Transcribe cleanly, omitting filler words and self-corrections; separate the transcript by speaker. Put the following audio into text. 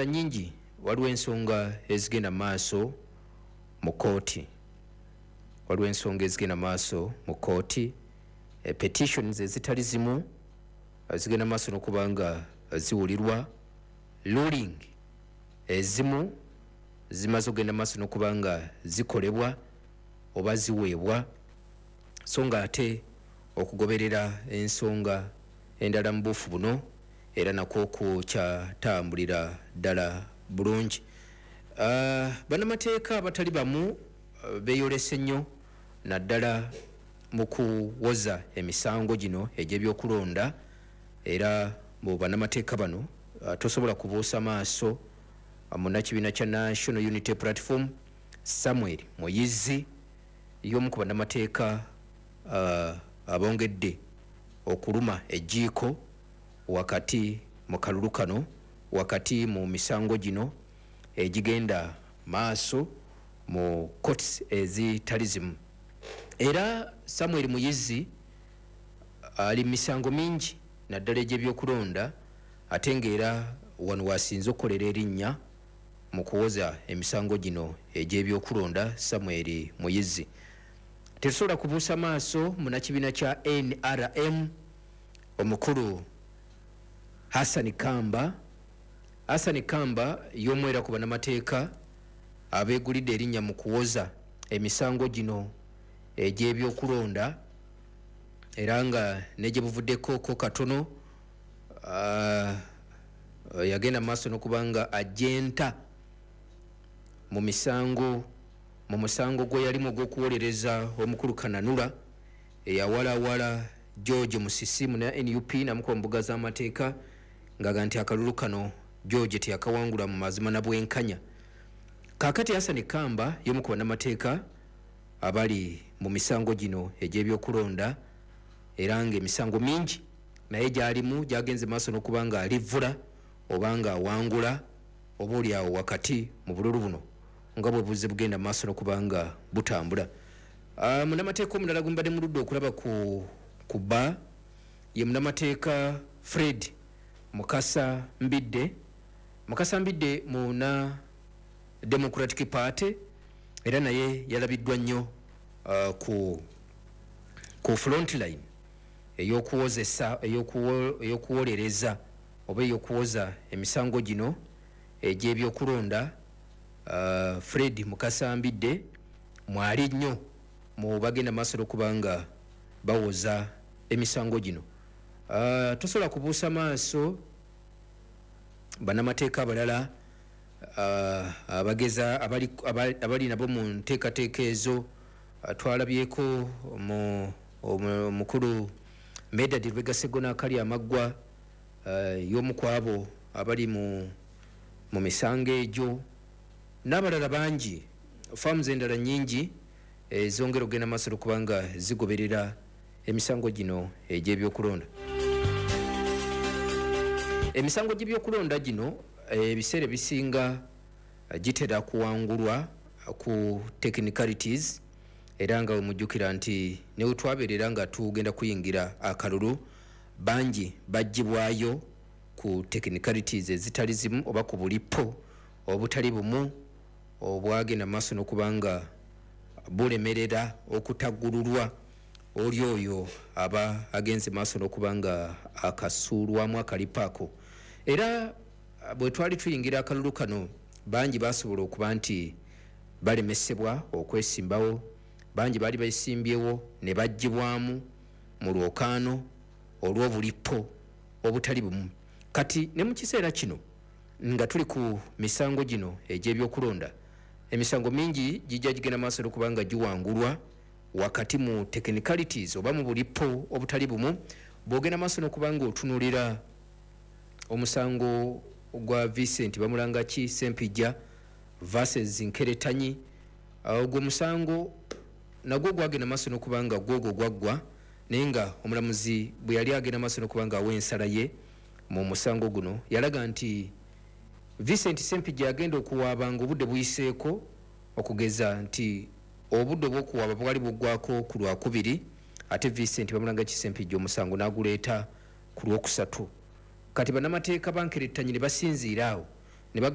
Speaker 1: Nyingi waliwo ensonga ezigenda maaso mu kooti, waliwo ensonga ezigenda maaso mu kooti, petitions ezitali zimu zigenda maaso n'okuba nga ziwulirwa, ruling ezimu zimaze okugenda maaso n'okuba nga zikolebwa oba ziweebwa, so nga ate okugoberera ensonga endala mu buufu buno era nakwo kukyatambulira ddala bulungi. Bannamateeka abatali bamu beeyolese nnyo naddala mu kuwoza emisango gino egy'ebyokulonda, era mu bannamateeka bano tosobola kubuusa maaso munnakibiina kya National Unity Platform Samuel Muyizzi, y'omu ku bannamateeka abongedde okuluma ejjiiko wakati mu kalulu kano, wakati mu misango gino egigenda maaso mu courts ezitali zimu. Era Samuel Muyizzi ali misango mingi naddala egy'ebyokulonda, ate ng'era wano wasinze okukolera erinnya mu kuwoza emisango gino egy'ebyokulonda. Samuel Muyizzi tetusobola kubuusa maaso munnakibiina kya NRM omukulu Hassan Kamba. Hassan Kamba y'omu era ku bannamateeka abeegulidde erinnya mu kuwoza emisango gino egy'ebyokulonda, era nga ne gye buvuddeko ko katono yagenda mu maaso n'okuba nga ajenta mu misango, mu musango gwe yalimu ogw'okuwolereza omukulu Kananura eyawalawala George Musisi muna NUP namukuba mu mbuga z'amateeka ng'aga nti akalulu kano George teyakawangula mu mazima na bwenkanya. Kaakati Hassan Kamba y'omu ku bannamateeka abali mu misango gino egy'ebyokulonda, era ng'emisango mingi naye gy'alimu gy'agenze maaso n'okuba nga alivvula oba nga awangula oba oli awo wakati mu bululu buno nga bwe buzze bugenda maaso n'okuba nga butambula. Munnamateeka omulala gwe mbadde muludde okulaba ku bba ye munnamateeka Fred Mukasa Mbidde. Mukasa Mbidde muna Democratic Party, era naye yalabiddwa nnyo ku frontline ey'okuwozesa, ey'okuwolereza oba ey'okuwoza emisango gino egy'ebyokulonda. Fred Mukasa Mbidde mwali nnyo mu bagenda maaso n'okuba nga bawoza emisango gino. Tosobola kubuusa maaso bannamateeka abalala abageza abali nabo mu nteekateeka ezo. Twalabyeko omukulu Medard Lubega Sseggona akali amaggwa, y'omu ku abo abali mu misango egyo, n'abalala bangi, faamu endala nnyingi ezongera okugenda maaso okuba nga zigoberera emisango gino egy'ebyokulonda. Emisango gy'ebyokulonda gino ebiseera ebisinga gitera kuwangulwa ku technicalities, era nga wemujjukira nti ne we twabeerera nga tugenda kuyingira akalulu, bangi baggyibwayo ku technicalities ezitali zimu oba ku bulipo obutali bumu obwagenda maaso n'okuba nga bulemerera okutaggululwa oli oyo aba agenze maaso n'okuba nga akasuulwamu akalipo ako. Era bwe twali tuyingira akalulu kano, bangi basobola okuba nti balemesebwa okwesimbawo, bangi baali beesimbyewo ne baggyibwamu mu lwokaano olw'obulipo obutali bumu. Kati ne mu kiseera kino nga tuli ku misango gino egy'ebyokulonda, emisango mingi gijja gigenda maaso n'okuba nga giwangulwa wakati mu technicalities oba mu bulipo obutali bumu. Bw'ogenda maaso n'okuba nga otunuulira omusango gwa Vincent Bamulangaki Ssempijja versus Nkeretanyi, ogwo omusango nagwo gwagenda maaso n'okuba nga gwogwo gwaggwa, naye nga omulamuzi bwe yali agenda maaso n'okuba nga awa ensala ye mu musango guno, yalaga nti Vincent Ssempijja yagenda okuwaaba ng'obudde buyiseeko, okugeza nti obudde obw'okuwaaba bwali buggwako ku Lwakubiri, ate Vincent Bamulangaki Ssempijja omusango n'aguleeta ku Lwokusatu. Kati bannamateeka ba Nkeretanyi ne basinziira awo